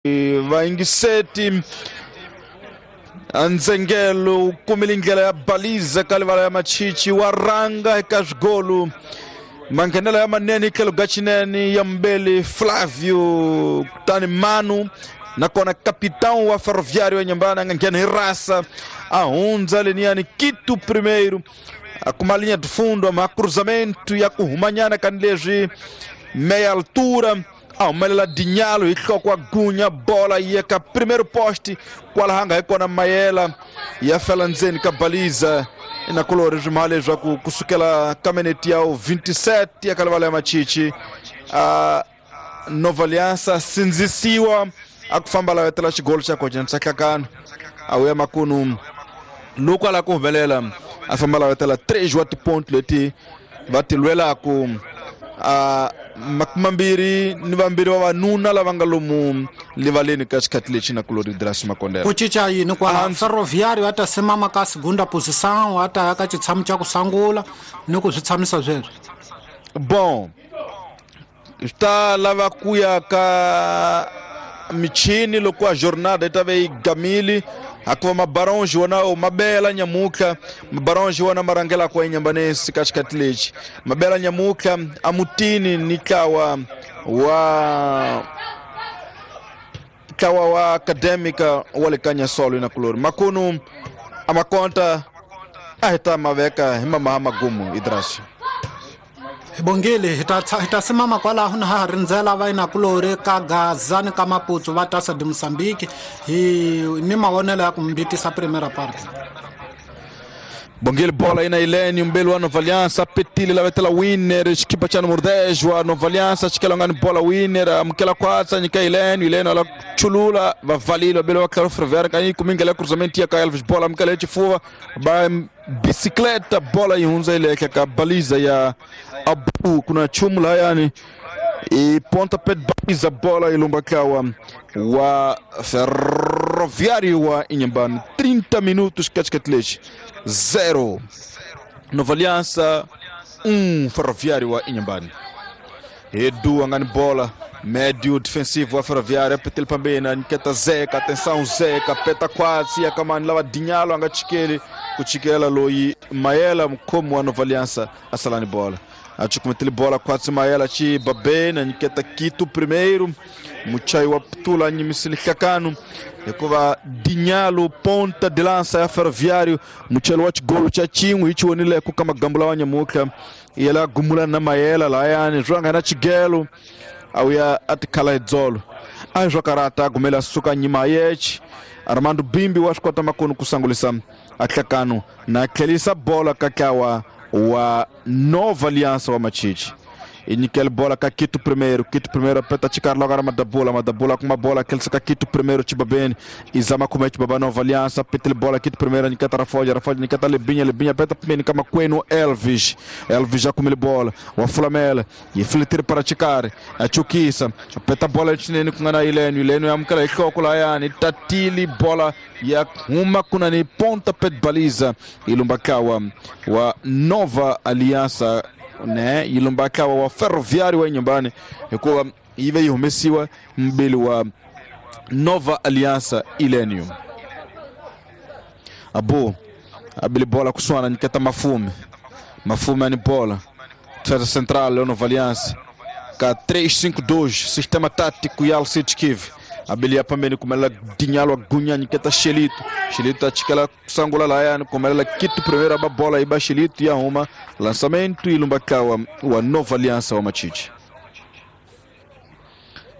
Vayingiseti ndzengelo u kumile ndlela ya baliza ka livala ya machichi wa ranga eka swigolu manghenelo ya manene hi tlhelo ga xinene ya mbeli Flavio kutani Manu nakona capitão wa Ferroviário ya Inhambane a nga nghena hi rasa a hundza leniyani Quito primeiro a kuma linha de fundo ma cruzamento ya ku humanyana kani leswi meia altura a humelela Dinyalo hi nhloko wa gunya bola yi ya ka primeiro poste kwalaha nga hi kona Mayela ya fela ndzeni ka baliza inakulori swi leswaku kusukela ka minete ya 27 ya ka livala ya machichi a Nova Aliança sindzisiwa a ku famba lavetela xigolo xa kojenisa nhlakano a wuya makunu loko a lava ku humelela a famba lavetela 3 wa tiponto leti va ti lwelaku a makume mambirhi ni vambirhi vavanuna lava nga lomu livaleni ka xikhathi lexi na kulori Drasi Makondela ku cinca yini kwala Ferroviário a ta simama ka segunda posição a ta ya ka xitshamo xa ku sangula ni ku swi tshamisa sweswo. Bon, swi ta lava ku ya ka michini loko a jornada yi ta ve yi gamile hakuva mabaronji wona mabela nyamutlha mabaronji wona ma rhangelaka enyambanesi ka xikhathi lexi mabela nyamutlha amutini ni ntlawa wa acadêmica wa le ka Nyasolo na kulori makunu a makonta a hi ta maveka hi mamaha magumu Idrasi. Hi bongile hi ta simama kwalaho na ha ha rindzela vainakulori ka Gaza ni ka Maputo va Taça de Moçambique hi ni mavonelo ya ku mbitisa primeira parte. Bongile bola ina Ilene umbeli wa Nova Aliança petile lavetela Winner xikipa cha número 10 wa Nova Aliança xikela ngani bola Winner amukela kwatsa nyika Ilene Ilene ala chulula vavalile vabeli wa Claro Ferroviário kanyi kumingela cruzamento ya ka Elvis bola amukela xifuva ba bicicleta bola yi hundza yi le ka baliza ya Abu kuna chumu layani i ponta pé baliza bola ilumba kawa wa Ferroviário wa Inhambane 30 minutos katikati 0 Nova Aliança 1 Ferroviário wa Inhambane. Edu angani bola médio defensivo wa Ferroviário petel pambena nketa Zeca atenção Zeca peta quase akamani lava Dinhalo anga chikeli kuchikela loyi Mayela mkhomo wa Nova Aliança asalani bola achukumetele bola quase Mayela chi babena nketa Quito primeiro muchai wa ptula nyimisili hlakano hikuva Dinhalo ponta de lança ya Ferroviário muchelo wa xigolo xa xin'we hi xiwonileko ka magambo lawa nyamutlha yela gumula na Mayela layani swi nga na xigelo a wuya a tikhala hi dzolo a hi swa karata a gumela suka nyima yechi Armando Bimbi wa swi kota makunu ku sangulisa a hlakano na tlhelisa bola ka ntlawa wa Nova Aliança wa Machichi inyikele bola ka Quito primeiro Quito primeiro apeta chikari logo Madabula Madabula kuma bola kelsa ka Quito primeiro Chibabene izama kuma Chibaba Nova Aliança petele bola Quito primeiro nikata Rafoja Rafoja nikata Lebinha Lebinha apeta pembeni kama kwenu Elvis Elvis já kumele bola wa Flamela e filtre para chikari achukisa apeta bola chinene kungana Ileno Ileno yamkala ihloko la yani tatili bola ya huma kuna ni ponta pet baliza ilumbakawa wa Nova Aliança ne ilumbakawa wa Ferroviário wa Inhambane hikuva yi ve yi humesiwa mbili wa Nova Aliança Ilenium abu abili bola kuswana niketa Mafume Mafume ani bola defesa central Nova Aliança ka 3-5-2 sistema tático ya Alcides Kiv abili pambeni kumela Dinhalo agunya niketa Xelito Xelito achikela sangula layani kumela Quito primeiro aba bola iba Xelito ya uma lançamento ilumbakawa wa Nova Aliança wa Machichi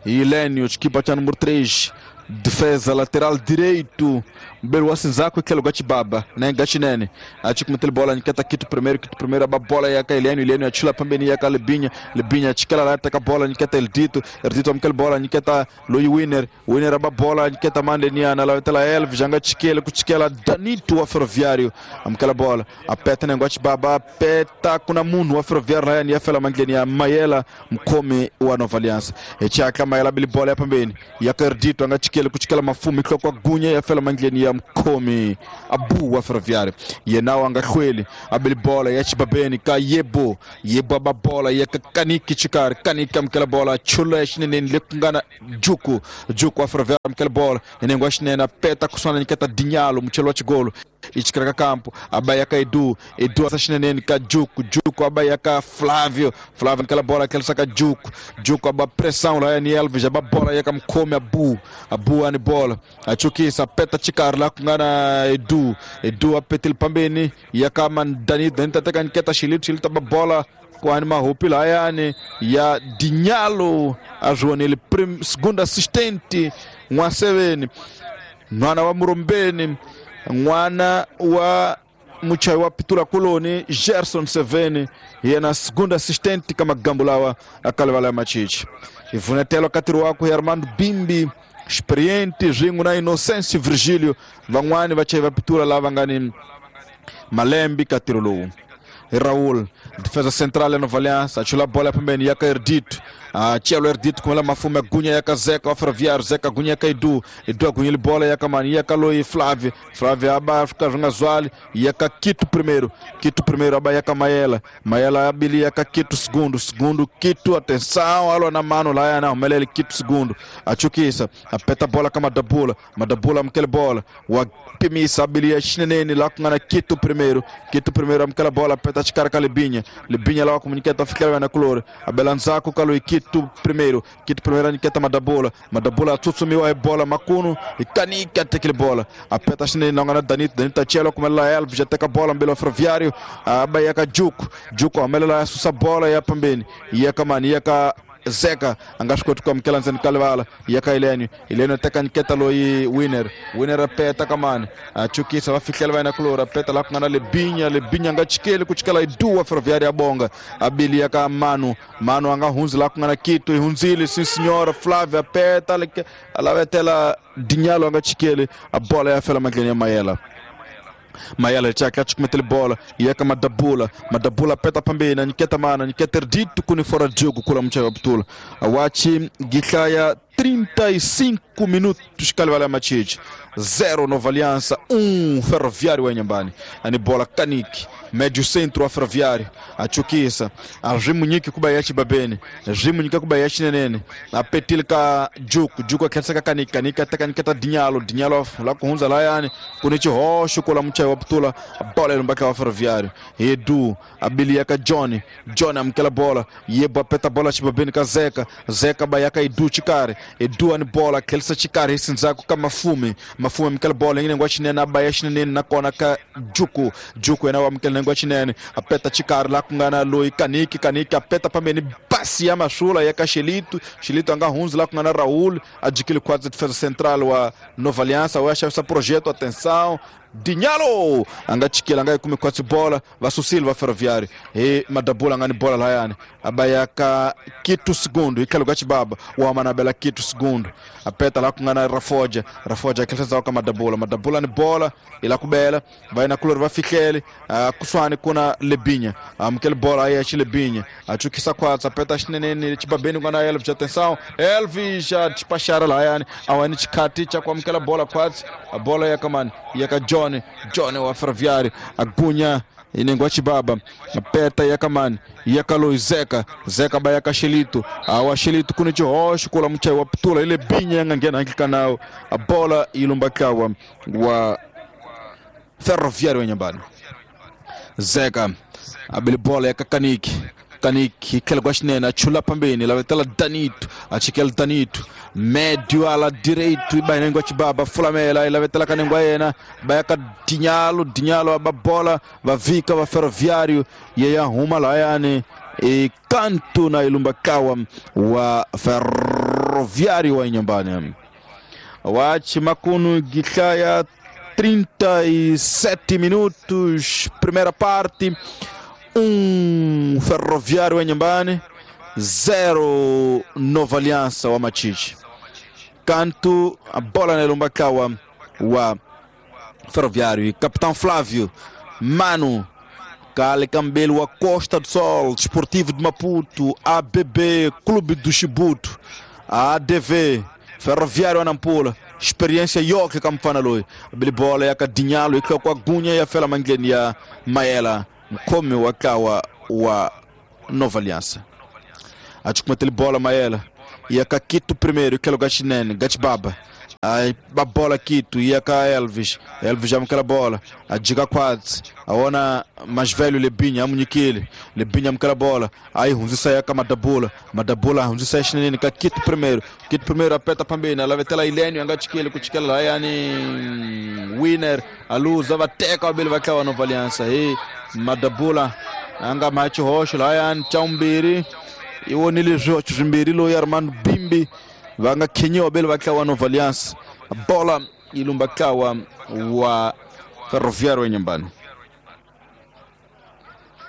Ilênio equipa cha número 3 defesa lateral direito mbele wa Sinzaco aquele Gatibaba né Gatinene achikumutele bola niketa Quito primeiro aba bola ya Ilênio Ilênio achila pambeni ya Lebinha Lebinha achikela lá taka bola niketa Eldito Eldito amkele bola niketa Loi Winner Winner aba bola niketa Mandeniana lá tela Elvis janga chikele kuchikela Danito wa Ferroviário amkela bola apeta ne Gatibaba apeta kuna munhu wa Ferroviário lá ya fela mangeni ya Mayela mkhomi wa Nova Aliança echaka Mayela bili bola ya pambeni ya Eldito anga chikele chikele ku chikela mafumu hloko gunya ya fela mandleni ya mkhomi Abu wa Ferroviário yena wa nga hlweli abeli bola ya chibabeni ka Yebo Yebo aba bola ya Kaniki chikari Kaniki amkela bola chula ya xineneni le ku nga na Juku Juku wa Ferroviário amkela bola inengo wa xinene peta kuswana nyiketa Dinyalo muchelo wa chigolo ichikara kampo abayaka Edu Edu asashineneni ka Juku Juku abayaka Flávio Flávio aquela bola aquela saca Juku Juku aba pressão lá ni Elvis aba bola yaka mkhome Abu Abu ani bola achukisa peta chikar la kungana Edu Edu apetil pambeni yaka man Dani Dani tataka nketa Shilito Shilito aba bola kwani mahupi la yani ya Dinyalo ajuanele segundo assistente N'wa-Seveni n'wana wa Murombeni n'wana wa muchayi wa Pitura Koloni Gerson Seveni yena segundo assistente ka magambo lawa akalivala ya Machichi ivunetelo katiri wako ya Armando Bimbi experiente swin'we na Inocêncio Virgílio van'wani vachayi va Pitura lava nga ni malembe ka ntirho lowu. Raul defesa central ya Nova Aliança achula bola pembeni yaka Erdito Chelo Erdito kumela mafume gunya yaka Zeca wa Ferroviário Zeca gunya yaka Edu Edu agunya bola yaka mani yaka Loi Flávio Flávio aba fica junga zwali yaka Quito primeiro Quito primeiro aba yaka Maela Maela abili yaka Quito segundo segundo Quito atenção alo na mano lá yana umelele Quito segundo achukisa apeta bola kama Madabula Madabula mkele bola wa pimisa abili ya xineneni lá kungana Quito primeiro amkela bola apeta chikara ka Libinha Libinha lá comunicata fikela na color abelanzako kaloi Quito primeiro aniketa Madabula Madabula tsutsumiwa e bola makuno e kanika tekele bola apeta xineneni lá ngana Danito Danito chelo kumela Elvis teka bola mbele Ferroviário abayaka Juku Juku amelela susa bola ya pambeni yaka mani yaka Zeca angascot com aquela nzeni kalvala yaka Helênio Helênio teka nketa loi Winner Winner apeta kamani achukisa vafikela vai na color apeta lá com Lebinha Lebinha angachikele kuchikela Edu a Ferroviária ya bonga abili yaka Mano Mano anga hunzi lá com Quito e hunzile sim senhora Flávia apeta alavetela Dinyalo angachikele a bola ya fela maglenia Maela Maela chaka chukumetele bola yaka Madabula Madabula peta pambeni niketa mana niketa Erdito kuni fora de jogo kula mchaga butula awachi gitlaya 35 minutos kalvala Machichi 0 Nova Aliança 1 Ferroviário wa Inhambane ani bola Kaniki médio centro a Ferroviário achukisa ajimunyiki kubayachi babene ajimunyika kubayachi nenene apetilika Juku Juku aketsaka Kaniki Kaniki ataka niketa Dinyalo Dinyalo la kuhunza la yani kunichi hosho kula mchayi wa butula bola ilumbaka wa Ferroviário Edu abiliaka Johnny Johnny amkela bola yebo apeta bola chibabene ka Zeca Zeca bayaka Edu chikare Edu ani bola kelsa chikare isinzako ka Mafume Mafume amkela bola ngine ngwa chinene abaya chinene nakona ka Juku Juku yena wamkela ngwa chinene apeta chikare la kungana loi Kaniki Kaniki apeta pambeni pasi ya mashula ya Xilito Xilito anga hunzi la kungana Raul adquire quadro de defesa central wa Nova Aliança wa essa projeto atenção Dinyalo anga chikela anga kume kwatsi bola va Silva Ferroviário e Madabula ngani bola la yani abayaka Quito segundo ikalo gachibaba wa manabela Quito segundo apeta la kungana Rafoja Rafoja akheleza ka Madabula Madabula ni bola ila kubela vai na color va fikele kuswani kuna Lebinha amkele bola aí a Lebinha achukisa kwatsa apeta xinenene chibabeni ngana Elvis atenção Elvis já despachara la yani awani chikati cha kwamkela bola kwatsi a bola yakamani yaka Johnny Johnny wa Ferroviário agunya inengwa chibaba apeta yakamani yakaloi Zeca Zeca bayaka Xilito awa Xilito kuni chihosho kula mchayi wa putula ile binya yangangena nkikanao a bola ilumbakawa wa Ferroviário Inhambane Zeca abili bola yaka Kaniki Kaniki khela kwa xinene achula pambeni lavetela Danito achikela Danito médio ala direito ibainengwa chibaba fulamela ilavetela kanengwa yena bayaka Dinyalo Dinyalo aba bola vavika va Ferroviário yeya huma la yani e canto na ilumbakawa wa Ferroviário wa Inhambane wachi makunu gitlaya 37 minutos primeira parte 1 Ferroviário Inhambane 0 Nova Aliança wa Machichi canto a bola na Ilumbakawa wa Ferroviário e Capitão Flávio Mano Cale Cambelo wa Costa do Sol Desportivo de Maputo ABB Clube do Chibuto ADV Ferroviário Nampula experiência yoke ka mfana loyi bili bola ya ka Dinyalo yi kwa gunya ya fela mangleni ya Mayela mkhomi wa ntlawa wa Nova Aliança achukumatele bola Mayela ya ka Quito primeiro que lugar chinene Gatibaba a bola Quito ia ka Elvis Elvis amukela bola ajiga quadzi aona mais velho Lebinha amunyikile Lebinha amukela bola aí hunzisa ya ka Madabula Madabula hunzisa chinene ka Quito primeiro apeta pambeni alavetela Ilênio angachikile kuchikela la yani winner aluza vateka vabili va ntlawa Nova Aliança hi Madabula anga machi hoxo la yani chaumbiri iwonile swihoxo swimbirhi loyi Armando Bimbi va nga khenyiwa vabili va ntlawa Nova Aliança bola yi lumba ntlawa wa Ferroviário Inhambane.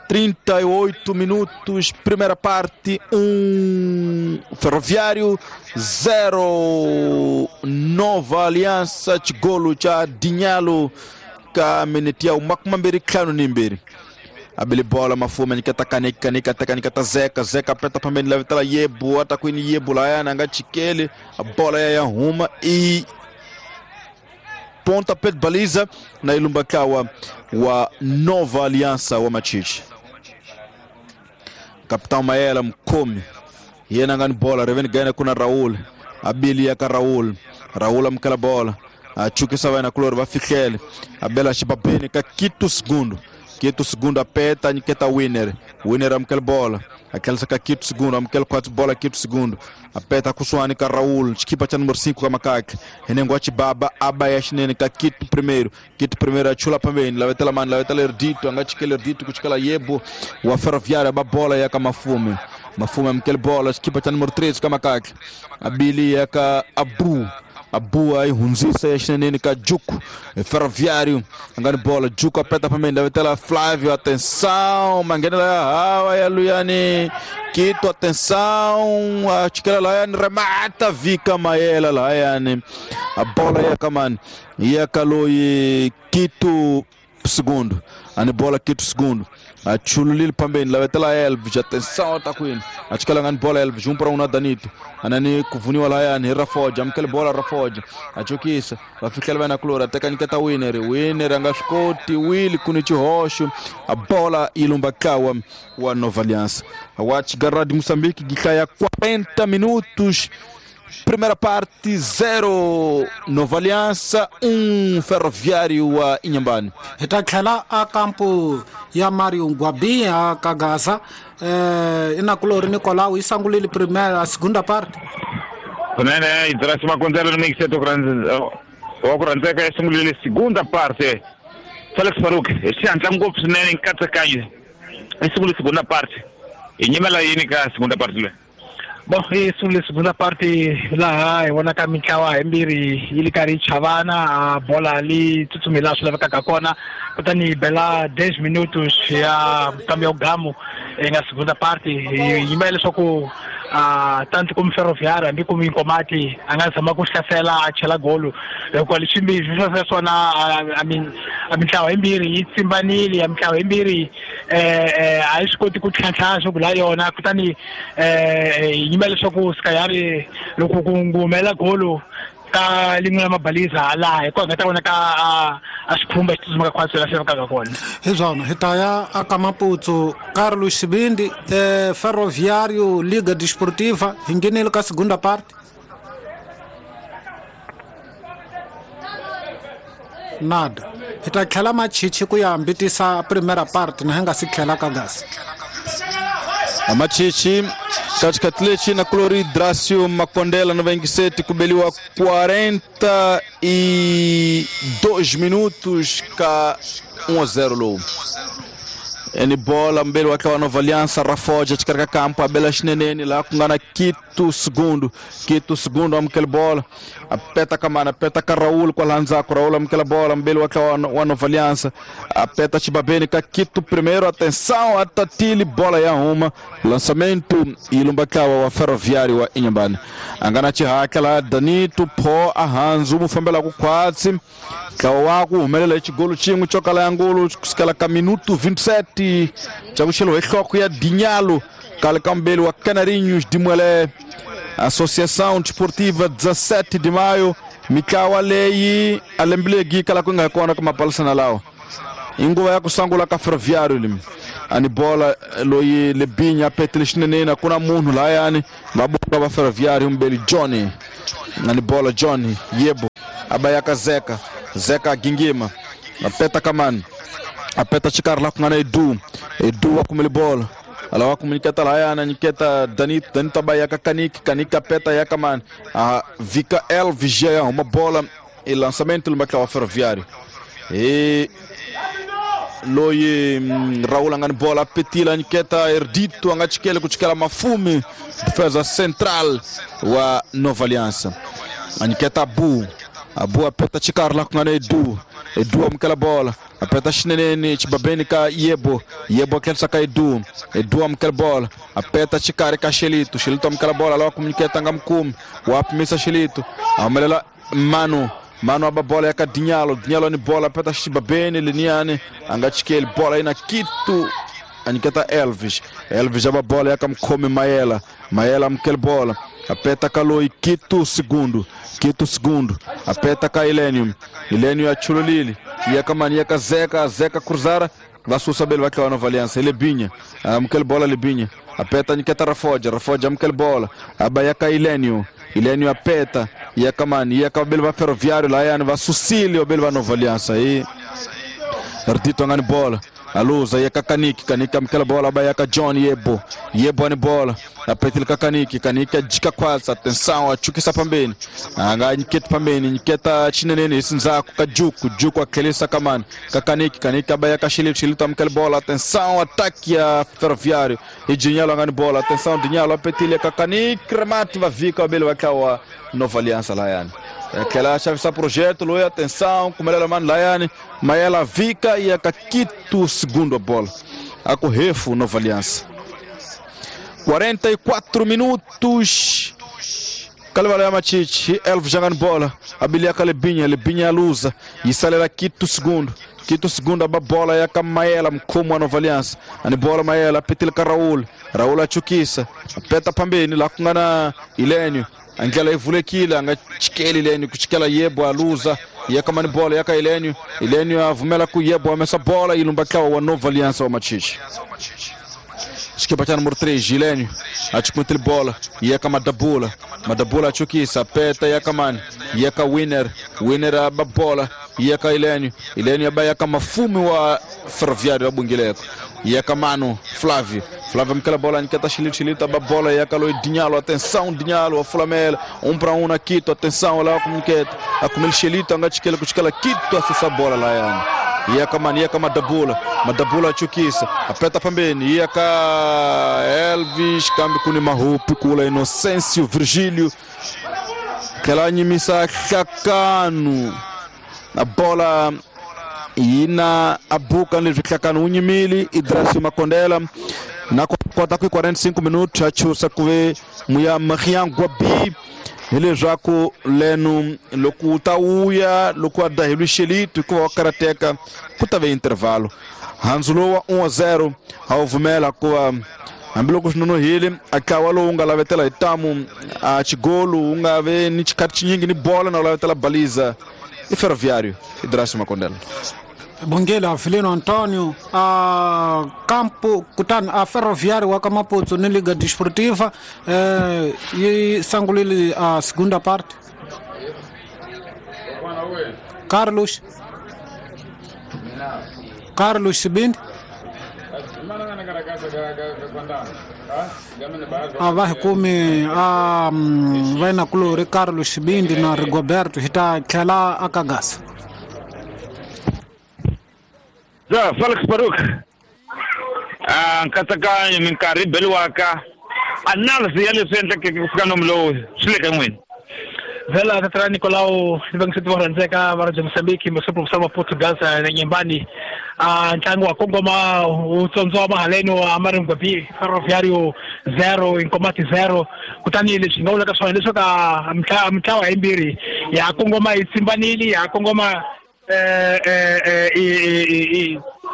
38 minutos, primeira parte, 1 Ferroviário, 0 Nova Aliança, chigolo cha Dinyalo ka minute ya 25. Abele bola Mafume nikata kanika nika kanika ta Zeka Zeka peta pambeni la Yebu atakwini Yebu la yana nga chikele a bola ya huma e ponta pet baliza na ilumba kawa wa Nova Aliança wa Machichi. Capitão Maela mkomi yena ngani bola reveni gana kuna Raul abili ya ka Raul Raul amkala bola achukisa wana kulor va fihlele abela xibabeni ka Quito segundo Quito segundo apeta niketa winner winner amkela bola aquela saca Quito segundo amkela quatro bola Quito segundo apeta kusuani ka Raul chikipa cha número 5 ka Makaka henengo achibaba abayashinene ka Quito primeiro achula pambeni lavetela mani lavetela Erdito angachikele Erdito kuchikela Yebo wa Ferroviário ba bola ya ka Mafume Mafume amkela bola chikipa cha número 3 ka Makaka abili ya ka Abu Abu aí hunzisa ya xinenene ka Juco Ferroviário angani bola Juco apeta pambeni lavetela Flávio atenção mangenela hawa ya Luyani Quito atenção achikela Layani remata vika Maela Layani a bola ya kamani ya kaloi Quito segundo ani bola Quito segundo achululile pambeni lavetela Elvis atenção atakwini achikela ngani bola Elvis 1 para 1 na Danito anani kuvuniwa layani Rafoja amkele bola Rafoja achukisa vafikela vana kulora teka niketa winner winner anga swikoti wili kuni chihoxo a bola ilumba kawa wa Nova Aliança watch Garra de Moçambique gikhaya 40 minutos primeira parte 0 Nova Aliança 1 Ferroviário wa Inhambane. Hi ta tlhela a kampo ya Mario Ngwabi a ka Gaza inakulori Nicolau yi sangulile primeira a segunda parte. Kunene Idrasi Makondela ni mixeto wa ku rhandzeka yi sungulile segunda parte. Felix Faruk hi xihatla ngopfu swinene nkatsakanyo yi sungule segunda parte. Hi nyimela yini ka segunda parte leyi? Bom, yi sungule segunda parte laha hi vonaka mintlawa himbirhi yi li karhi yi chavana a bola li tsutsumi laha swi lavekaka kona kutani yi bela 10 minutos ya nkambi ya Gamo nga segunda parte yi yimela leswaku tanto como Ferroviário hambi como Inkomati a nga zama ku hlasela a chela golo hikuva leswi swi swona a mintlawa yimbirhi yi tsimbanile a mintlawa yimbirhi a yi swi koti ku tlhantlha swo la yona kutani yi yimela leswaku Sikayari loko ku humela golo ka lin'we la mabaliza laha hikuva nga ta vonaka a xikhumba xi tsutsumaka khwatsi laha swi lavekaka kona. Hi swona hi ta ya aka Maputo Carlos Xibindi Ferroviário Liga Desportiva hi nghenile ka segunda parte nada hi ta tlhela Machichi ku ya hambitisa primeira parte na hi nga si tlhela ka Gaza. Machichi katikati na Clori Dracio Makondela 97 kubeliwa 42 minutos ka 1-0 low. Eni bola mbele wake wa Nova Aliança Rafoja chikarika kampo abela xinenene la kungana Quito segundo amkele bola apeta kamana apeta ka Raul kwa lanzako Raul amkele bola mbele wake wa Nova Aliança apeta chibabeni ka Quito primeiro atenção atatili bola ya uma lançamento ilumbakawa wa Ferroviário wa Inhambane angana chihakela Danito po ahanzu mufambela ku khwatsi kawa ku humelela xigolo xin'we xo kala ya ngolo kusukela ka minuto 27 cha ku xelo hi nhloko ya Dinyalo kale ka mbeli wa Canarinhos de Muelé Associação Desportiva 17 de Maio mitlawa leyi a lembe kala ku nga kona ka mapalisana lawa inguva ya ku sungula ka Ferroviário limi ani bola loyi Lebinya petile xinene kuna munhu layani va bola va Ferroviário mbeli Johnny ani bola Johnny yebo abayaka Zeka Zeka gingima apeta kamani apeta xikarhi la ku nga na Edu Edu wa kumele bola alawa kumuniketa layana niketa Danito Danito abayaka Kaniki Kaniki apeta yaka mani a Vika Elvis ya uma bola e lançamento lumba wa Ferroviário e loyi Raul angani bola petila niketa Erdito angachikele kuchikela Mafume defesa central wa Nova Aliança aniketa Abu Abu apeta xikarhi la ku nga na Edu Edu amukela bola apeta xineneni xibabeni ka Yebo Yebo akhensa ka Edu Edu amukela bola apeta xikarhi ka Xelito Xelito amukela bola lawa kumuniketa nga mukumi wa pimisa Xelito ahumelela Manu Manu aba bola ya ka Dinhalo Dinhalo ni bola apeta xibabeni liniani anga chikeli bola ina Kitu aniketa Elvis Elvis aba bola ya ka mukhomi Mayela Mayela amukela bola apeta kaloi Kitu segundo Kitu segundo apeta ka Ilênio Ilênio achululili yakamani yaka Zeka Zeka cruzara vasusa bele va Nova Aliança Lebinha amukela bola Lebinha apeta niketa Rafoja Rafoja amukela bola abayaka Ilênio Ilênio apeta yakamani yaka bele va Ferroviário layani vasusile bele va Nova Aliança e Erdito angani bola aluza yaka Kaniki Kaniki amukela bola abayaka John Yebo Yebo ani bola apetile ka Kaniki Kaniki ajika kwasa atenção achukisa pambeni anga niketa pambeni niketa chinenene isinzaku ka Juku Juku akelisa kamani ka Kaniki Kaniki abayaka Xilito Xilito amukela bola atenção ataque ya Ferroviário e Dinhalo angani bola atenção Dinhalo apetile ka Kaniki remate vavika abele wakawa Nova Aliança layani aquela chave sa projeto loia atenção kumelela mano layani Mayela vika e a Kitu segundo a bola a correfo Nova Aliança 44 minutos Kalevala Machichi Elvis jogando bola abilia Lebinha Lebinha alusa e salela Kitu segundo Kitu segundo a bola ya Mayela mkhomo wa Nova Aliança ani bola Mayela petile ka Raul Raul achukisa peta pambeni la kungana Ilênio angela ivulekile anga chikeli Ilênio kuchikela Yebo aluza yakamani bola yaka Ilênio Ilênio avumela ku Yebo amesa bola ilumba wa Nova Aliança wa Machichi Esquipa cha número 3 Ilênio achikumutile bola yaka Madabula Madabula achukisa peta yakamani yaka Winner Winner aba bola yaka Ilênio Ilênio aba yaka Mafume wa Ferroviário abungileko yaka Manu Flávio Flávio amukela bola niketa Xilito Xilito aba bola yaka loi Dinhalo atenção Dinhalo a Flamela 1 para 1 na Quito atenção lá kumuketa akumele Xilito anga chikela kuchikela Quito asusa bola la yani yaka mani yaka Madabula Madabula achukisa apeta pambeni yaka Elvis kambi kuni mahupi kula Inocêncio Virgílio kela nyimisa Hlakanu na bola ina abuka leswi Hlakanu unyimili Idrasio Makondela na kota ku 45 minutos achusa kuve muya Marian Gwabi hileswaku lenu loko u ta wuya loko a daheliwe Xelito hikuva wa karateka ku ta ve intervalo handzu lowu wa 1-0 a wu vumela kuva hambiloko swi nonohile a ntlawa lowu nga lavetela hi tamu a xigolu wu nga ve ni xikhathi xinyingi ni bola na wu lavetela baliza i Ferroviário Idrasio Makondela Bongela Avelino Antônio a campo kutani a Ferroviário wa ka Maputo ni Liga Desportiva yi sangulile a segunda parte Carlos Carlos Sibindi a va hi kumi a vainakulori Carlos Sibindi na Rigoberto hi ta tlhela aka Gasa Ja, Felix Baruk. Nkatsakanyo minkarhi beliwaka analysis ya leswi endlekeke ku fika nomu lowu swi le ka n'wina Vela tatra Nicolau ni va rhandzeka va ra Mozambique masupu wa Portugal na Nyembani ntlangu wa kongoma wu tsondzoma haleno a Maringwabi Ferroviário 0 Inkomati 0 kutani leswi nga vulaka swona leswaku mitlawa yimbirhi ya kongoma yi tsimbanile ya kongoma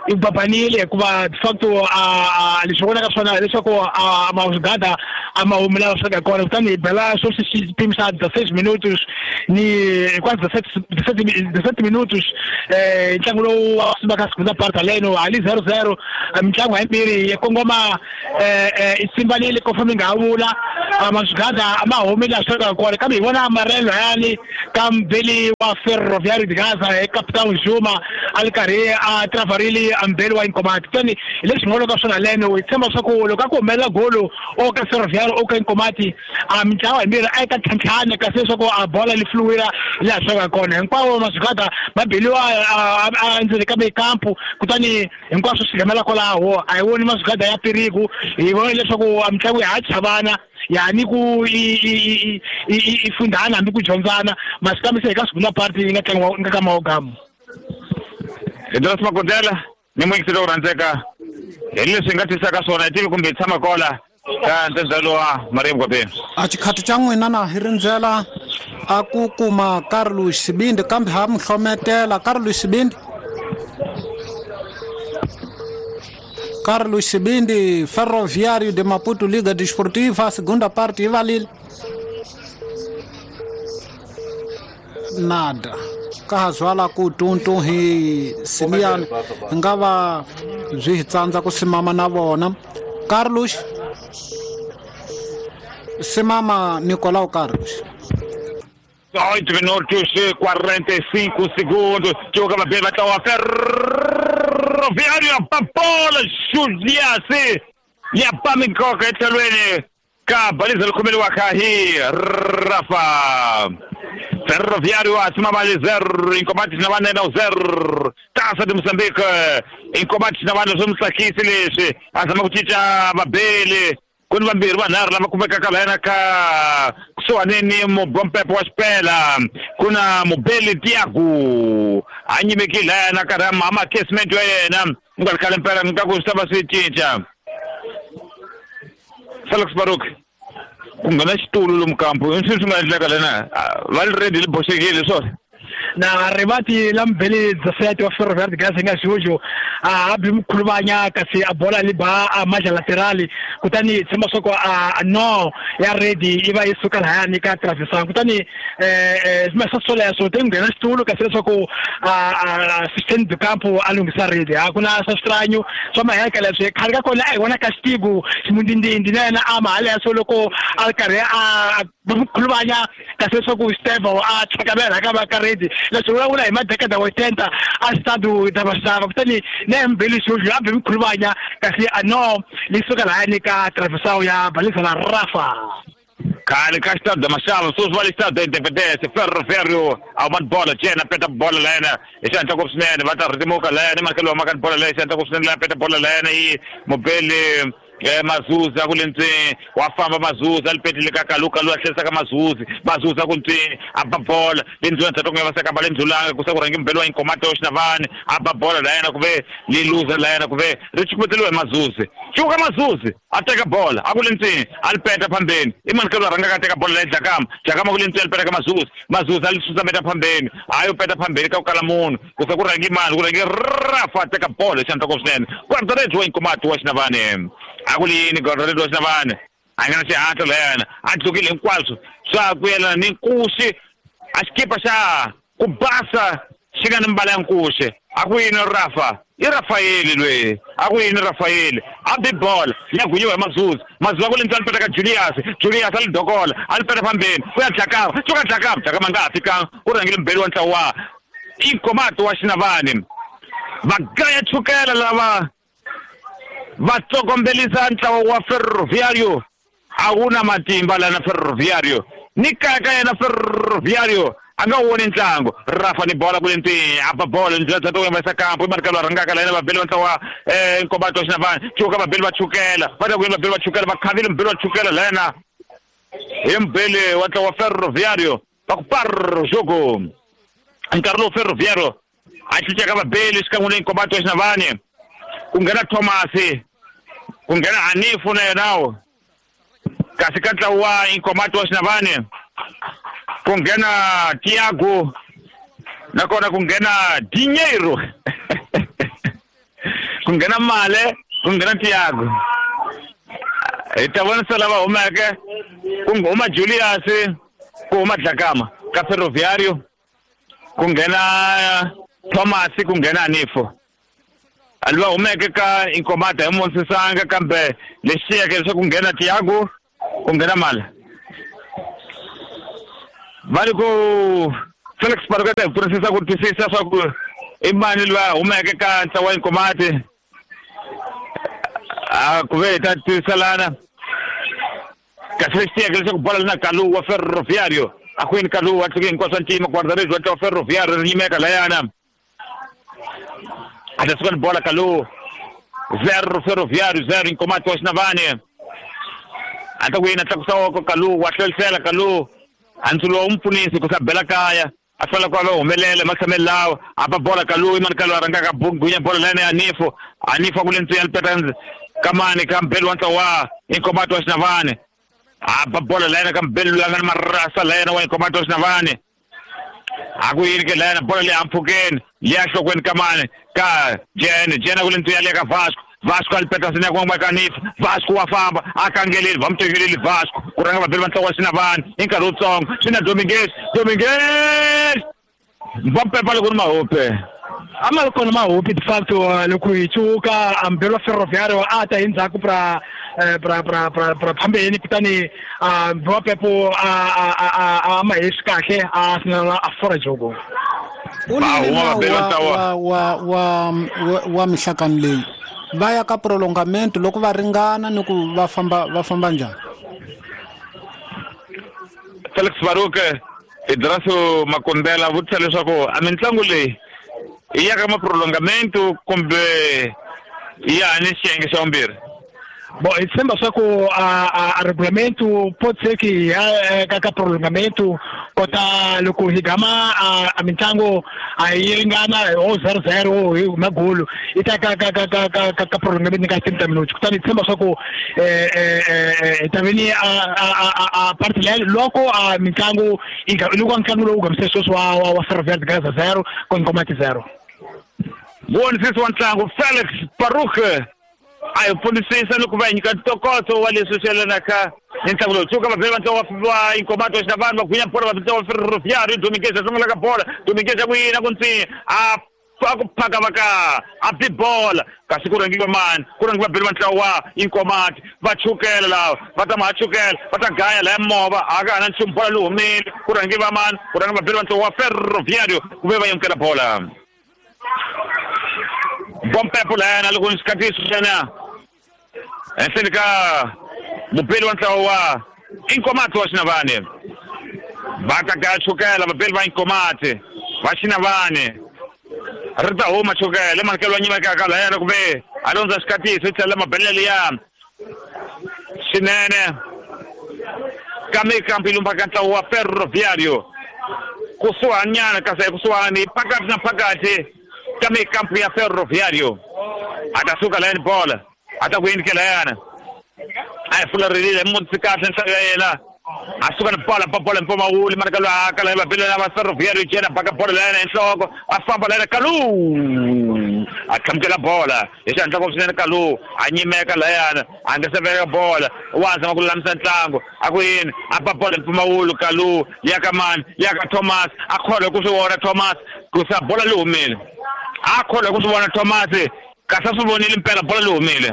I babanile hikuva de facto a leswi vonaka swona leswaku a mazugada a ma humi laha swi kona kutani hi bela swo xipimo xa 16 minutos ni quase 17 minutos ntlangu lowu wa ka segunda parte leno ali 0-0 mitlangu hayimbirhi yi kongoma i simbanile ko famba nga vula mazugada a ma humi laha swi kona kambe hi vona amarelo yani ka mbeli wa Ferroviário de Gaza e Capitão Juma a ri karhi a travarile a mbeli wa Inkomati kutani hi leswi nga ka swona leno hi tshemba leswaku loko a ku humelela golo o ka Ferroviário o ka Inkomati a mitlawa himbirhi a yi ta tlhantlhana kasi leswaku a bola li fluwira laha swi nga kona hinkwavo mazugada va beliwa a endzeni ka mikampu kutani hinkwaswo swi gamela kwalaho a hi voni mazugada ya piriku hi vona leswaku a mitlangu ya ha chavana yani ku i fundana hambi ku dyondzana masi kambe se eka segunda parte yi nga tlangiwa nga ka maogamu Idris Makondela ni muyingiseri wo rhandzeka hi leswi hi nga tisaka swona hi tivi kumbe hi tshama kola ka ntsenzalo wa Maria Mkwapeni a xikhati xa n'wina na hi rindzela a ku kuma Carlos Sibindi kambe ha mi hlometela Carlos Sibindi Carlos Sibindi Ferroviário de Maputo Liga Desportiva segunda parte yi valile nada ka ha zwala ku tuntu hi simiyani hi nga va byi hi tsandza ku simama na vona Carlos simama Nicolau Carlos 8 minutos e 45 segundos. Joga bem, vai estar o Ferroviário, a bola, Juliase. E a Pamikoka, Etelwene. Kabaliza lukumeli wa Kahi, Rafa. Ferroviário acima vale 0, em combate na banda não 0. Taça de Moçambique, em combate na banda somos aqui, Silêncio. Azama kuticha Babele. Kuni vambirhi vanharhu lava kumekaka lahayana ka kusuhani ni mubompepo wa xipela ku na mubeli Tiago a nyimeki lahayana karhi a makesment ya yena ku nga ri khale mpela ni nga ku swi ta va swi cinca Felix Baruk ku nghena xitulu lomu kampu i swilo swi nga endleka lena va ri ready li boxekile swona na rivati la mbeli 17 wa Ferroviário de Gaza nga Jojo a bi mkhuluvanya kasi a bola li ba a maja laterali kutani tshemba swa ku a no ya ready i va yi suka lahayani ka travesan kutani swi swoleswo te nghena xitulu kasi leswaku assistant de campo a lunghisa ready a ku na swa switranyo swa maheka leswi khale ka kona a hi vona Castigo ximundindindi na yena a mahaleswo loko a ri karhi a mkhuluvanya kasi leswaku Steve a tlhakamela ka va ka ready leswi vulavula hi madekada wa 30 a stadu da Vaxava kutani na mbeli Jojo a bi mkhuluvanya kasi a no li suka lahayani ka traversao ya balisa la Rafa khale ka xitado da Maxava sweswi va le xitado da Independence Ferroviário a huma bola jena peta bola layena hi xihatla ngopfu swinene va ta rhitimuka layena makelo wa maka bola leyi xihatla ngopfu swinene laya peta bola layena yi mubeli Mazuzi a ku le ntseni wa famba Mazuzi a li petile ka Kaluka loyi a tlherisaka Mazuzi Mazuzi a ku ntseni a ba bola le ndzulani ndzhaku nga va seka ba le ndzulanga ku se ku rhangi mbeli wa Inkomati wa Xinavani a ba bola la yena ku ve li luza la yena ku ve ri chukumeteriwa hi Mazuzi cuka Mazuzi a teka bola a ku le ntseni a li peta phambeni i mani ka loyi a rhangaka a teka bola leyi Dlakama Dlakama ku le ntseni a li peta ka Mazuzi Mazuzi a li susameta phambeni a yo peta phambeni ka ku kala munhu ku se ku rhangi mani ku rhangi Rafa a teka bola hi xihatla swinene guarda-redes wa Inkomati wa Xinavani a ku ri yini guarda-redes wa Xinavani a nga na xihatla la yena a tlukile hinkwaswo swa ku yelana ni nkuxi a xikipa xa ku basa xi nga ni mbala ya nkuxi a ku yini Rafa i Rafaeli loyi a ku yini Rafaeli a bi bola ya gunyiwa hi Mazuzi Mazuzi a ku le ntsani peta ka Julius Julius a li dokola a li peta phambeni ku ya Dlakama cuka Dlakama Dlakama nga ha fikanga ku rhangile mbeli wa ntlawa wa Inkomati wa Xinavani va gaya chukela lava va tsokombelisa ntlawa wa Ferroviário a wu na matimba lana Ferroviário ni kaya ka yena Ferroviário a nga woni ntlangu Rafa ni bola ku le ntseni a ba bola ndlela ta to yimisa kampu i mani ka loyi a rhangaka la yena vabeli va ntlawa wa Inkomati wa Xinavani cuka vabeli va chukela va ta ku yini vabeli va chukela va khavile mbeli wa chukela la yena hi mbeli wa ntlawa wa Ferroviário va ku par jogo nkarhi lowu Ferroviário a cincaka vabeli xikan'we ni Inkomati wa Xinavani ku nghena Thomasi ku nghena Hanifu na yenawo kasi ka ntlawa wa Inkomati wa Xinavani ku nghena Tiago nakona ku nghena Dinheiro Ku nghena Male, ku nghena Tiago. Hi ta vonisa lava humeke, ku huma Julius, ku huma Dlakama ka Ferroviario, ku nghena Thomas, ku nghena Anifo. Alva humeke ka Inkomati hi Monsisanga, kambe lexi xiyeke leswaku ku nghena Tiago, ku nghena Male. Va ri ku Felix Paruketa hi pfunisisa ku twisisa swa ku i mani loyi a humeke ka ntlawa wa Inkomati. A ku ve hi ta twiselana. Kasi lexi tiyeke leswaku bola li na Kalu wa Ferroviario. A kwini Kalu wa tluke hinkwaswo ntima guarda-redes wa ntlawa wa Ferroviario ri nyimeka layana. A ta suka ni bola Kalu. 0 Ferroviario 0 Inkomati wa Xinavane. A ta ku yini a tlakusa woko Kalu wa hlwelisela Kalu. A ntsulo wu mpfunisi ku sa bela kaya. A fela ku va humelela matshamelo lawa a ba bola Kalu imani Kalu a rhangaka gunya bola layana ya Anifo. Anifo a ku le ntswiya lipeta kamani ka mbeli wa ntlawa wa Inkomati wa Xinavane. A ba bola layana ka mbeli loyi a nga ni marasa layana wa Inkomati wa Xinavane. A ku yini ke layana bola leyi ampfhukeni leya nhlokweni kamani ka Jene. Jene a ku le ntswiya leya ka Vasco. Vasco a lipeta sina ku ka Anifo. Vasco wa famba a kangeleli va mu tekeleli Vasco ku rhanga vabeli va ntlawa wa Xinavane hi nkarhi wutsongo. Swi na Dominguez. Dominguez va pepa loko ni mahope. A ma ri kona mahope de facto loko hi cuka a mbeli wa Ferroviario a ta hi ndzhaku pra pra pra pra pra phambeni, kutani mbeli wa Pepo a ma hesi kahle a sinela a fora jogo. U ni wa wa wa mihlakani leyi va ya ka prolongamento loko va ringana ni ku va famba njhani? Felix Baruke Idraso Makondela vutisa leswaku a mitlangu leyi i ya ka maprolongamento kumbe ya ni xiyenge xa vumbirhi? Bo hi tshemba swa ku a regulamento pode ser que ka prolongamento kota loko hi gama a mitlangu a yi ringana o 0-0 hi magolo i ta ka ka ka ka ka ka prolongamento ka 30 minutos. Kutani hi tshemba swa ku hi ta veni a parte leyi loko a mitlangu loko ntlangu lowu gamise sweswi wa Ferroviário Gaza 0 ku Nkomati 0. Vonisisi wa ntlangu Felix Baruch a hi pfunisisa ni ku va hi nyika ntokoto wa leswi swi yelanaka ni ntlangu lowu. Tsuka vabeli va ntlawa wa Inkomati wa Xinavane va gwinya bola va ntlawa wa Ferroviário. Dominguez a sungula ka bola. Dominguez a ku yina ku ntsinya a ku phaka va ka a bi bola kasi ku rhangiwa mani ku rhangiwa vabeli va ntlawa wa Inkomati va chukela lava va ta ma chukela va ta gaya laya movha a ka ha na nchumu bola lowu humile ku rhangiwa mani ku rhangiwa vabeli va ntlawa wa Ferroviário ku ve va yamukela bola. Bompepo layana loko ni xikatiso xana henhleni ka mubeli wa ntlawa wa Inkomati wa Xinavane. Va ta gaya chukela vabeli va Inkomati va Xinavane ri ta huma chukela emanikelo wa nyimekaka layana ku ve a londza xikatiso i tlhela mabelele liya swinene ka mikampu yi lumbaka ntlawa wa Ferroviário kusuhanyana kasi ekusuhani phakathi na phakathi ka mikampu ya Ferroviário. A ta suka layani bola a ta ku yini ke layana a hi fulerile mutsi kahle nhlayo ya yena a suka ni bola pa bola mpfumawuli mara ka loyi a kala va bela va Ferroviário jena baka bola layana hi nhloko a famba layana Kalu a tlhamukela bola hi xihatla ngopfu swinene. Kalu a nyimeka layana a nga se veka bola wa zama ku lulamisa ntlangu a ku yini a ba bola mpfumawulu Kalu ya ka mani ya ka Thomas a kholwa ku swi vona Thomas ku sa bola li humile a kholwa ku swi vona Thomas kasi a swi vonile mpela bola li humile.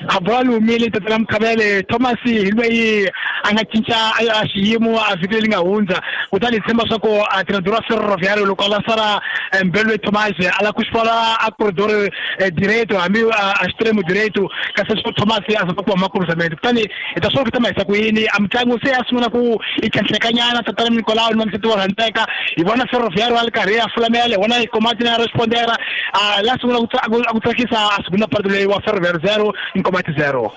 A bola li humile tatana Mkhabele. Thomas hi loyi a nga cinca a xiyimo a vhiki leri nga hundza, kutani hi tshemba swa ku a treinador wa Ferroviário loko a lançara mbelo loyi Thomas a lava ku xifala a corredor direito hambi a extremo direito kasi swo Thomas a zama ku huma cruzamento. Kutani hi ta swi vona ku ta mahisa ku yini a mitlangu se ya sungula ku yi tlhentlhekanyana tatana Nicolau ni Mamseti wa rhandzeka hi vona Ferroviário a ri karhi a fulamela hi vona Inkomati na respondera a la sungula ku tsakisa a segunda parte leyi wa Ferroviário 0 Inkomati 0.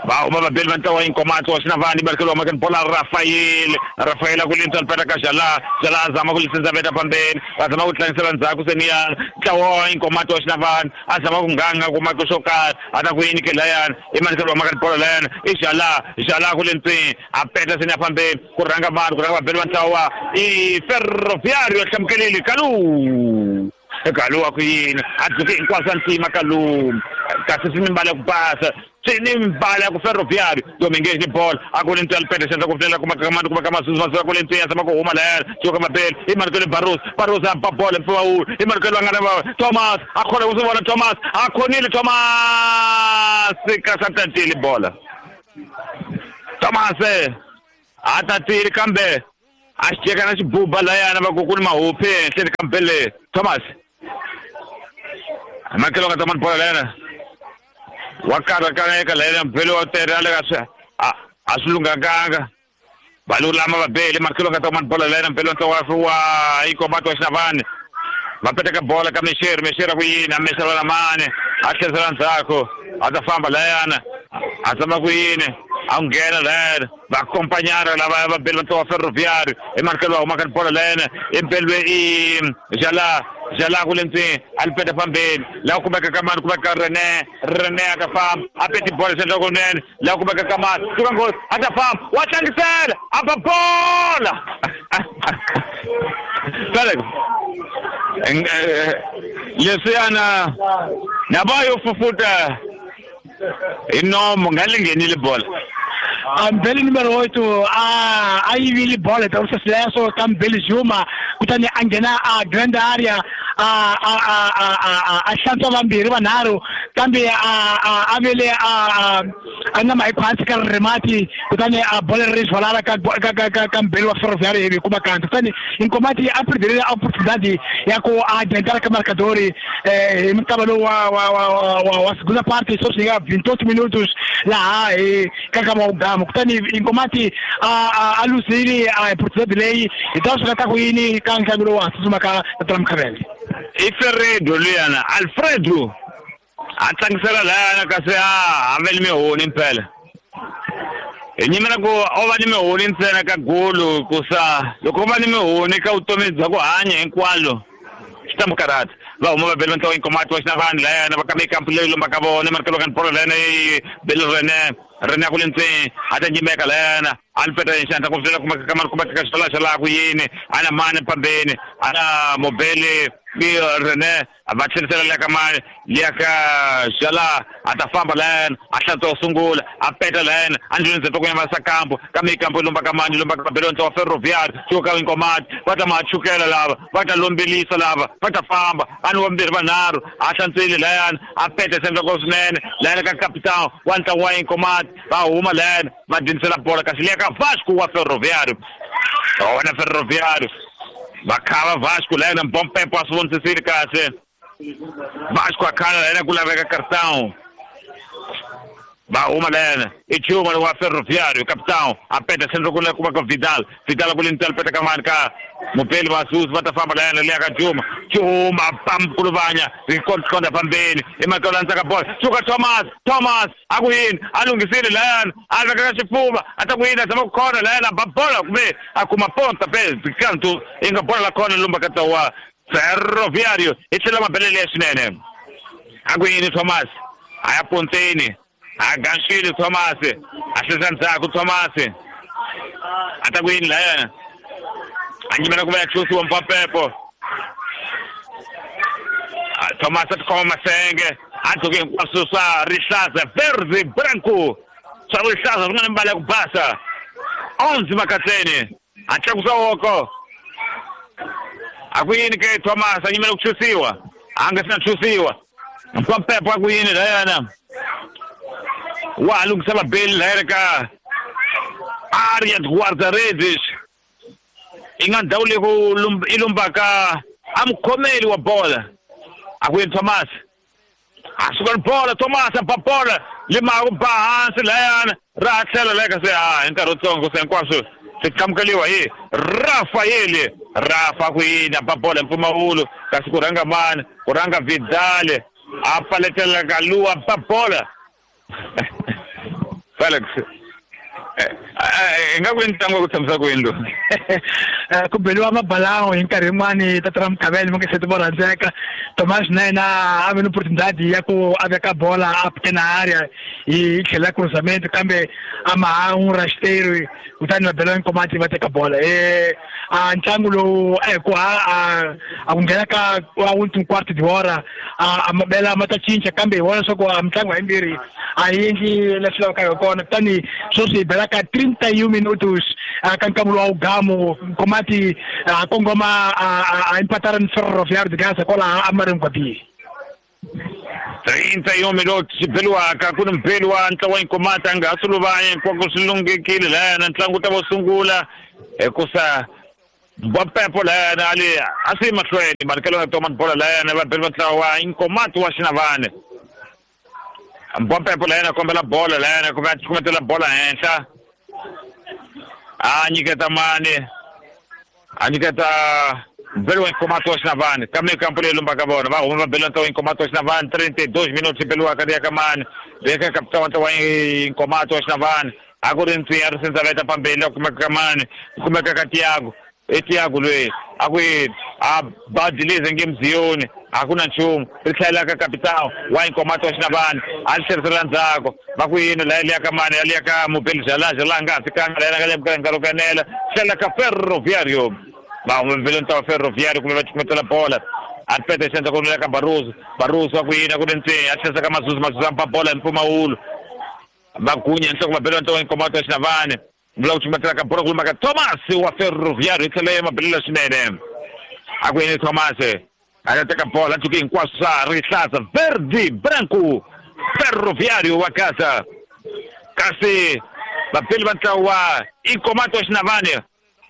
Va huma vabeli va ntlawa wa Inkomati wa Xinavane barikelo wa makeni bola Rafael. Rafael a ku lintswa lipeta ka Jala. Jala a zama ku lisenza veta phambeni va zama ku tlangisela ndzhaku seniya ntlawa wa Inkomati wa Xinavane a zama ku nganga ku maka xo karhi a ta ku yini ke layana i manikelo wa makeni bola layana i Jala. Jala ku lintswini a peta seniya phambeni ku rhanga mani ku rhanga vabeli va ntlawa wa i Ferroviário a hlamukelile Kalu. Kalu a ku yini a dzuke hinkwaswo a ntima Kalu kasi swi ni mbala ku basa swi ni mbala ku Ferroviário Domingues ni bola a ku le ntswela pete xandla ku flela kuma ka mani kuma ka masusu masusu ku le ntswela sama ku huma lahaya suka mabele i Marcelo Barros Barros a ba bola mpfumawulo i Marcelo a nga na Thomas a khona ku swi vona Thomas a khonile Thomas kasi a tatile bola Thomas a tatile kambe a xi teka na xibuba layana va ku ku ni mahuphi ehenhleni ka mbele Thomas Marcelo nga tama bola layana wa karhakaneka layana mbele wa tere a le ka swi a swi lunghakanga va lulama va bele Marcelo nga tama bola layana mbele wa wa Inkomati wa Xinavane va peteka bola ka Mexeri Mexeri a ku yini a mexela na mani a tlherisela ndzhaku a ta famba layana a tshama ku yini a nghena layana va acompanhar lava va bele va Ferroviário i Marcelo va huma ka bola layana i beliwe i Jala Jala ku le ndzeni a li peta fambeni laha kumeka ka mani kumeka René René a ka famba a peti bola xandla kunene laha kumeka ka mani suka nghozi a ta famba wa tlangisela a ba bola Felix leswiyana na va yo fufuta hi nomo nga li nghenile bola Mbele numero 8 a yivile bola ta usesileso ka Mbele Juma kutani a nghena a grand area a hlantswa vambirhi vanharhu kambe a vele a nama hi khwatsi ka rimati kutani a bola ri zwalara ka Mbele wa Ferroviário hi kuma kanti kutani Inkomati a perderile oportunidade ya ku a adiantar ka marcador hi mukava lowu wa segunda parte só chega 28 minutos laha hi ka kama ugama kutani Inkomati a luzile a oportunidade leyi hi ta swi ta ku yini ka ntlangu lowu wa tsutsuma ka Tata Mkhavele i Ferredo luyana Alfredo a tlangisela layana kasi a vele mihoni mpela hi nyimela ku o va ni mihoni ntsena ka golo ku sa loko u va ni mihoni ka vutomi bya ku hanya hinkwalo swi ta mu karhata va huma va bele va ntlawa Inkomati wa Xinavani layana va kambe ikampu leyi lombaka vona Marcelo ka bola layana yi bele René René ku le ndzeni a ta nyimeka layana a li peta hi xandla ku flela kuma ka mani kuma ka xitala xa laha ku yini a na mani pambeni a na mobele René va tlherisela liya ka mani liya ka Jala a ta famba layana a hlantswa wo sungula a peta layana a ndlwini ndzeni ku yimasa kampo kambe ikampo yi lomba ka mani lomba ka bele ntlawa Ferroviário suka ka Inkomati va ta machukela lava va ta lombelisa lava va ta famba a ni vambirhi vanharhu a hlantswile layana a peta sendla ko swinene layana ka capitão wa ntlangu wa Inkomati va huma layana va dyindzisela bola kasi liya ka Vasco wa Ferroviário wona Ferroviário va khava Vasco layana Mbompepo a swi vonisisile kahle Vasco a khala layana ku laveka cartão va huma layana i Juma wa Ferroviário capitão a peta sendro ku kuma ka Vidal Vidal ku le ntsala peta ka mani ka Mupeli Masusu va ta famba layana liya ka Juma Juma pamkuluvanya hi konda pambeni i Marcelo landzaka bola suka Thomas Thomas a ku yini a lunghisile layana a veka ka xifuva a ta ku yini a zama ku khona layana ba bola kumbe a kuma ponta pe kantu i nga bola la khona lumba ka wa Ferroviário i tlhela mabelele ya swinene a ku yini Thomas a ya ponteni a ganxile Thomas a hlesa ndzhaku Thomas a ta ku yini layana a nyimela ku va ya tlhosiwa Mpampepo Thomas a tikhoma masenge a dzoke hinkwaswo swa rihlaza verde branco swa rihlaza swi nga ni mbala ya ku basa 11 makatleni a tlakusa woko a ku yini ke Thomas a nyimela ku tlhosiwa a nga sina tlhosiwa Mpampepo a ku yini layana wa ha lunghisa mabeli layana ka área de guarda-redes i nga ndhawu leyi ku i lombaka a mukhomeli wa bola a ku yini Thomas a suka ni bola Thomas a ba bola lima ku ba hansi layana ra tlhela laya kasi a hi nkarhi wutsongo se hinkwaswo swi qhamukeliwa hi Rafael Rafa ku yini a ba bola hi mpfumawulo kasi ku rhanga mani ku rhanga Vidal a paletela ka luwa ba bola Felix i nga ku i ntlangu wa ku tshamisa ku yini lowu ku beliwa mabalango hi nkarhi yin'wani Tata Mkhavele mi nge se ti vo rhandzeka Tomás na yena a ve ni oportunidade ya ku a veka bola a pequena área yi tlhela cruzamento kambe a ma ha n'wi rasteiro kutani va bela Nkomati va teka bola. A ntlangu lowu ku a ku nghena ka wa último quarto de hora a mabela ma ta cinca kambe hi vona leswaku a mitlangu hayimbirhi a yi endli leswi lavekaka hi kona. Kutani sweswi hi bela ka 31 minutos ka nkamu wa ugamu Nkomati a kongoma a empatara ni Ferroviário de Gaza kwalaha a Maranguape. 31 minutos xibeliwaka ku ni mubeli wa ntlawa wa Nkomati a nga ha suluvanya hinkwako swi lunghekile lahayana ntlangu ta vo sungula hikusa Mbapepo lahayana ali a swi mahlweni manikelo ya toma bola lahayana vabeli va ntlawa wa Nkomati wa Xinavane. Mbapepo lahayana kombela bola lahayana kumbe a cukumetela bola henhla a nyiketa mani a nyiketa mbeli wa Nkomati wa Xinavane kambe kampo leyi lombaka vona va huma vabeli wa ntlawa wa Nkomati wa Xinavane 32 minutos beliwaka ri ya ka mani ri ya ka kapitana wa ntlawa wa Nkomati wa Xinavane a ku ri ntsiya ri sindza veta pambeni la kumeka ka mani kumeka ka Tiago e Tiago loyi a ku yini a badilize nge mziyoni a ku na nchumu ri tlhela ka kapitana wa Nkomati wa Xinavane a ri tlherisela ndzhaku va ku yini laha liya ka mani ya liya ka mubeli Jala nga ha fikanga laha nga le nkarhi wo kanela tlhela ka Ferroviário va huma mbeli ntlawa Ferroviário kumbe va cukumetela bola a peta xandla ku ka Barroso Barroso wa ku yini a ku ri ntsena a tlherisa ka Mazuzu Mazuzu a mpa bola hi mpfumawulo va gunya nhloko va bela ntlawa wa Nkomati wa Xinavane vula ku cukumetela ka bola ku lumaka Thomas wa Ferroviário hi tlhela ya mabelela swinene a ku yini Thomas a ta teka bola a cuke hinkwaswo swa rihlaza verde branco Ferroviário wa Gaza kasi vabeli va ntlawa wa Nkomati wa Xinavane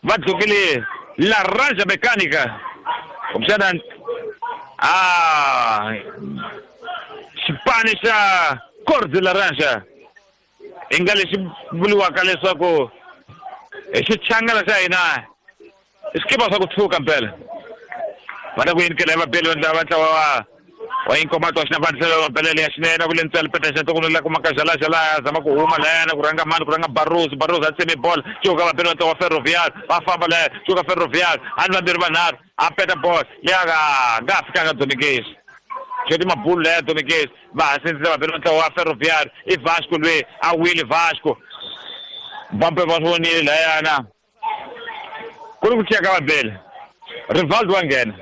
va dlukile Laranja Mecânica kumbexana a xipani xa cor de laranja i nga lexi vuriwaka leswaku hi xichangana xa hina i swikipa swa ku tshuka mpela va ta ku yinikela hi vabeli va ntlawa wa Nkomati wa Xinavane tlhelo mabelele ya xinene ku le ntswele peta xa ntokono la kumaka Jala Jala zama ku huma lahayana ku rhanga mani ku rhanga Barroso Barroso a tseme bola cuka vabeli va ntlawa wa Ferroviário va famba lahaya cuka Ferroviário a ni vambirhi vanharhu a peta bola leyi a nga ha fikanga Dominguez xoti mabulu laya Dominguez va ha sindzisa vabeli va ntlawa wa Ferroviário i Vasco loyi a wile Vasco Bampe va swi vonile lahayana ku ri ku ciya ka vabeli Rivaldo wa nghena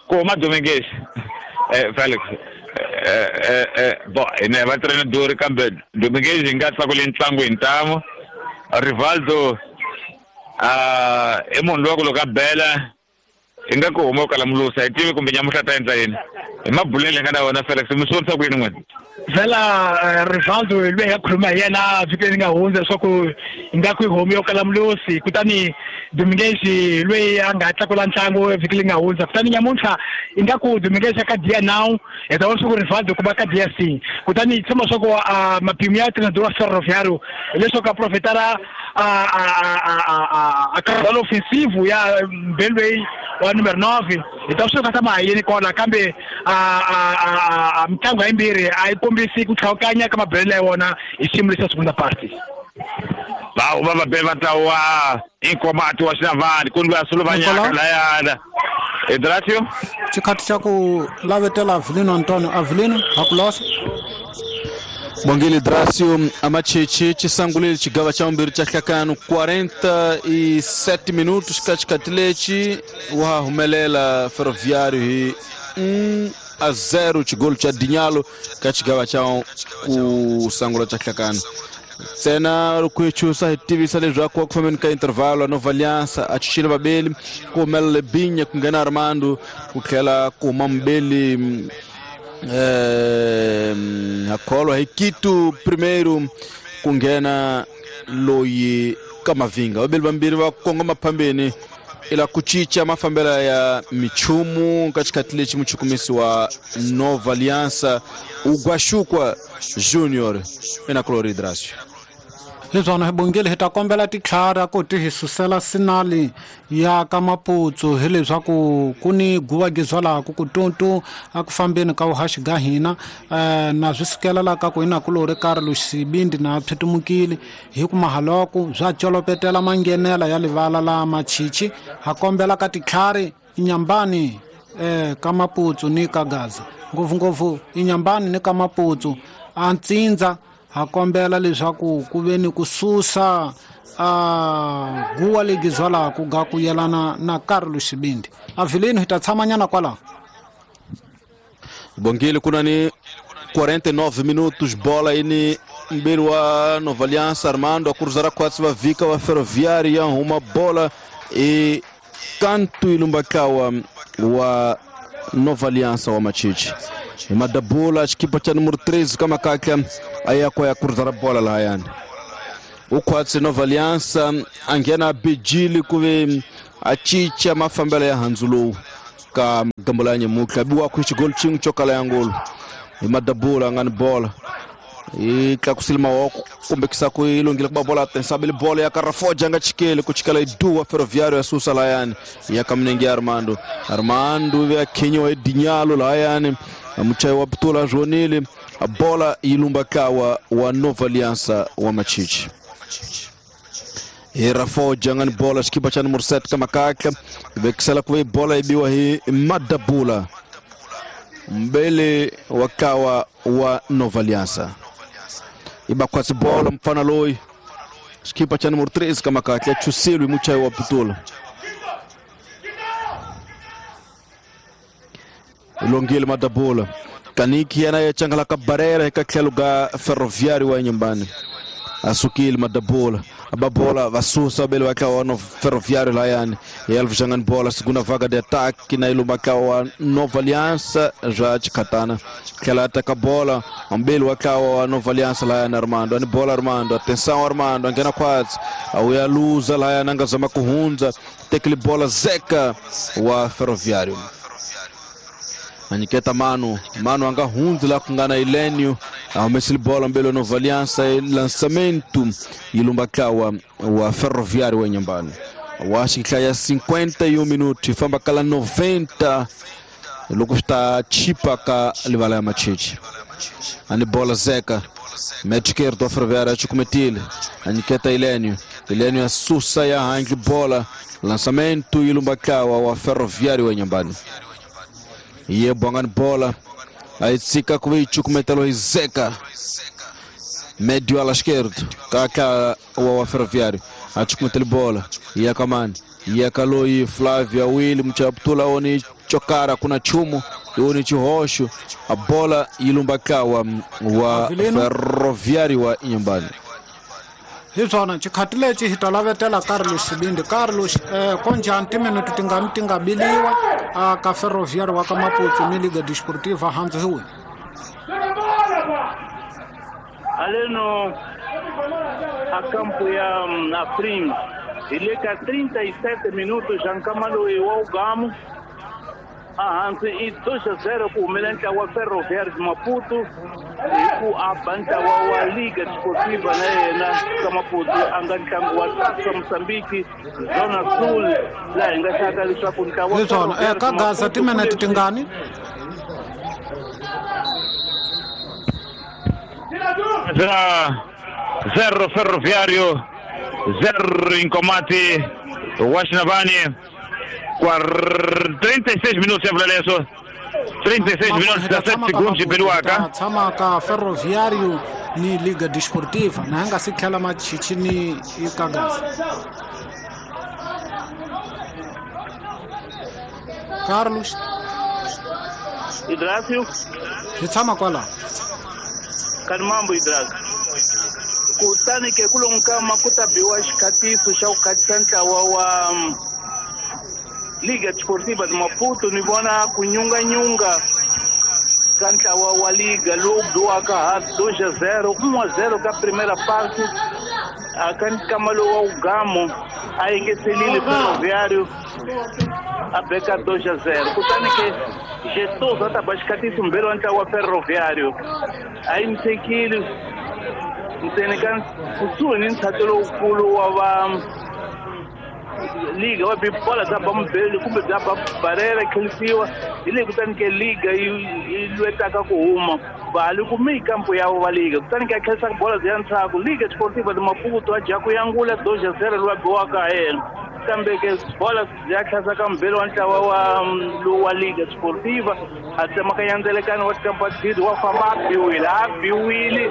ku huma Dominguez Felix bo ine va trainer duri kambe Dominguez hi nga tlakuli ntlangu hi ntamu Rivaldo i munhu loyi ku loko a bela hi nga ku huma u kala mulusa hi tivi kumbe nyamuhla ta endla yini hi mabulele hi nga na wona Felix mi swi vonisa ku yini n'wina vhela Rivaldo loyi hi nga khuluma hi yena vhiki leri nga hundza leswaku hi nga ku homu yo kala mulusi kutani Dominguez loyi a nga tlakula ntlangu vhiki leri nga hundza kutani nyamuntlha i nga ku Dominguez ka dia now hi ta vona leswaku Rivaldo ku va ka dia c kutani hi tshemba leswaku mapimo ya treinador wa Ferroviário hileswaku a profetara a caudal ofensivo ya mbeli loyi wa numero 9 hi ta swi ta ma yini kona kambe a mitlangu hayimbirhi a yi kombisi ku tlhawukanya ka mabelelo ya wona hi xiyimo lexa segunda parte va huma vabeli va ntlawa Nkomati wa Xinavane ku ni loyi a suluvanyaka layana Idracio xikhathi xa ku lavetela Avelino Antonio Avelino hakulosa Bongile Dracio amacheche chisangulile chigava cha umbiri cha hlakano 47 minutos ka xikhathi lexi wa humelela Ferroviário hi 1-0 chigolo cha Dinhalo ka xigava cha ku sangula cha hlakano ntsena loko hi chusa hi tivisa leswaku ku fambeni ka intervalo Nova Aliança a chuchile vabeli ku humelela Binya ku nghena Armando ku tlhela ku huma mubeli hakholwa hi Quito primeiro ku nghena loyi ka Mavinga vabeli vambirhi va kongoma phambeni ila ku cinca mafambelo ya michumu ka xikhathi lexi muchukumisi wa Nova Aliança Ugwashukwa Junior ina Clori Dracio leswana hi bongile hi ta kombela titlhara ku ti hi susela sinali ya ka Maputsu hileswaku ku ni guva gizwalaku ku tuntu a ku fambeni ka vuhaxi ga hina na swi sukela la ka ku ina kulori Carlos Sibindi na phetumukile hi ku mahaloko bya colopetela manghenela ya livala la machichi ha kombela ka titlhari nyambani ka Maputsu ni ka Gaza ngopfungopfu Inhambane ni ka Maputsu a ntsindza ha kombela leswaku ku ve ni ku susa a guwa legi zwalaku ga ku yelana na Carlos Xibindi. Avilino hi ta tshamanyana kwalaho. Bongile kuna ni 49 minutos, bola aí ni mbele wa Nova Aliança. Armando a cruzar a quatro va vika wa Ferroviária, uma bola e canto ilumbakawa wa Nova Aliança wa Machichi. Madabula equipa cha número 13 kama kaka ayako ya cruzar a bola la yani. Ukwatsi Nova Aliança angena bijili kuve achicha mafambela ya Hanzulu ka gambolanye mukla biwa kuichi gol chingu chokala yangolo. Madabula ngani bola e tlakusile mawoko kumbe kisako ilongile kuba bola tensabile bola ya Carafoja nga chikele kuchikala idua Ferroviário ya susa layani ya kamnengi Armando. Armando ya Kenyo edinyalo layani amuchai wa Ptula Jonile a bola ilumba kawa wa Nova Aliança wa Machichi. E Rafoja ngani bola skipa cha número 7 kama kaka vekisala kwa bola ibiwa hii Madabula mbele wakawa wa Nova Aliança. Ibakwasi bola mfana loi skipa cha número 3 kama kaka chusilwi muchai wa Ptula. Longile Madabula kaniki anayechangala kabarera ikakheluga Ferroviário wa nyumbani. Asukile Madabula ababola vasusa bele wakawa no Ferroviário layani Elvis jangan bola segunda vaga de ataque na ilumba wa Nova Aliança já de katana que ataca bola ambele wakawa Nova Aliança layani Armando ani bola Armando atenção Armando angena quase auya luza layani angazama kuhunza tekli bola Zeca wa Ferroviário. Aniketa Manu, Manu anga hunzi la kungana Ilenio, amesili bola mbele Nova Aliança lançamento ilumbakawa wa Ferroviário wa nyumbani. Washika ya 51 minutos, famba kala 90 lokusta chipa ka livala ya Machichi. Ani bola Zeca, médio esquerdo Ferroviário achukumetile, Aniketa Ilenio, Ilenio asusa ya hangi bola lançamento ilumbakawa wa Ferroviário wa nyumbani. Ye bongan bola aitsika kuichu kumetelo Zeca médio ala esquerdo kaka wa Ferroviário achukumetelo bola ya kamani ya kaloi Flávia Will mchaptula oni chokara kuna chumo oni chihosho a bola ilumbakawa wa Ferroviário wa nyumbani. Hisona chikhatile chi hitalavetela Carlos Xibindi. Carlos konjani timinute tingani tingabiliwa ka Ferroviário wa ka Maputo ni Liga Desportiva hanzi huwe. Aleno a campo ya Afrim ileka 37 minutos jankamalo e o Gamo a hanzi i 2-0 ku humelela wa Ferroviário de Maputo ku abanta wa Liga Desportiva na yena ka Maputo a nga ntlangu wa Taça Moçambique Zona Sul laha hi nga hlaka leswaku ntlawa wa ka Gaza timinete tingani zero Ferroviário 0 Incomati Washinabani 36 minutos ya Vlaleso 36 minutos 17 segundos de Peruaca. Tshama ka Ferroviário ni Liga Desportiva na nga si tlhela Machichi ni Ikagaza. Carlos Idrácio hi tshama kwala Kanimambo Idrácio kutani ke kulonkama ku ta biwa xikhatiso xa ku khatisa ntlawa wa Liga Desportiva de Maputo ni vona ku nyunganyunga ka ntlawa wa Liga lowu biwaka ha 2-0 1-0 ka primeira parte a ka nkama lowu wa Ugamo a engetelile Ferroviário a beka 2-0 kutani ke Gestoso a ta ba xikhatiso mbirhi wa ntlawa wa Ferroviário a yimisekile ntsena ka kusuhi ni ntshato lowukulu wa va Liga wa bola bya ba mubeli kumbe bya ba barera khelisiwa hi leyi kutani ke Liga yi lwetaka ku huma vali kume kampo ya va Liga kutani ke khelisa bola bya ntshaku Liga Desportiva de Maputo a dya ku yangula 2-0 lowa biwaka ha yena. Kambe ke bola ya tlhasa ka mubeli wa ntlawa wa lowu wa Liga Sportiva, a tsemakanya ndzelekano wa tikampa wa famba, a biwile, a biwile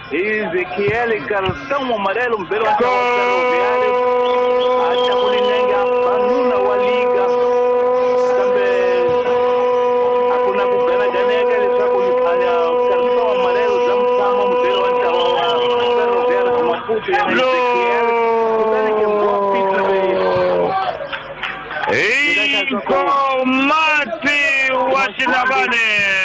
hi Ezekiel Cartão Amarelo. Mubeli wa ntlawa wa Ferroviário a tlakuli nenge, a ba nuna wa Liga, kambe a ku na ku ganaganeka leswaku Cartão Amarelo bya mutshama mubeli wa ntlawa wa Ferroviário de Maputo, yena Ezekiel. Kutani ke Mboa Peter Inkomati wa Xinavane.